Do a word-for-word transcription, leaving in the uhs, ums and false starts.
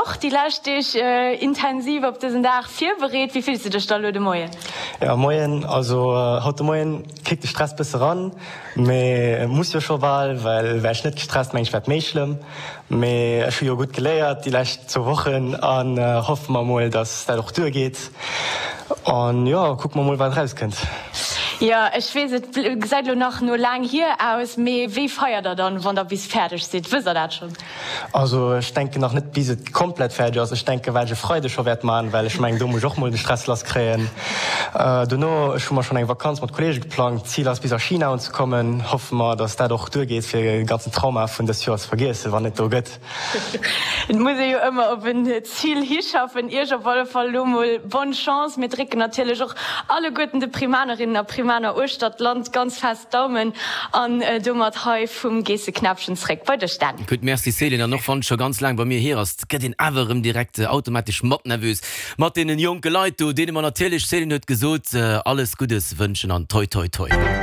och déi lescht Deeg intensiv op dësen Dag virbereet. Wéi fills de dech da elo de Moien? Jo, moien. Also haut de Moien kickt de Stress bësse ran, mee muss jo scho bal, well wär ech net gestresst, meng ech wär et méi schlëmm. Mee ech hu jo gutt geléiert déi lescht zwou Wochen an hoffe mer mol, dass dat och duergeet. An jo, kucke mer mol wat erauskënnt. Jo, ech weess, et gesäit elo nach no laang hier aus, mee wéi feiert der dann, wann der bis fäerdeg sidd? Wësst der dat schonn? Also ech denken nach net bis et komplett fäerdeg ass. Ech denken wat ech e Freide scho wäert man, well ech mengen do muss ech och mol de Stress lass kréien. Dono, ech hu mer schonn eng Vakanz mat Kollege geplangt, Zil ass bis a China unzekommen. Hoffe mer dass dat och duergeet fir de ganzen Trauma vun dëst Joer ze vergiessen, wann et do gëtt. Et muss ee jo ëmmer op en Zil hischaffen. Iech op alle Fall elo mol bonne Chance. Mir drécken natierlech och alleguerten de Primanerinnen a Primaner uechter d'Land ganz fest d'Daumen. An domat hei vum Geesseknäppchen zréck bei dech, Dan. Gutt, merci Céline. An och wann et scho ganz laang bei mir hier ass, gëtt een awer erëm direkt automatesch mat nervös mat deenen jonke Leit do, deene mer natierlech, Céline huet gesot, alles Guddes wënschen an toi toi toi.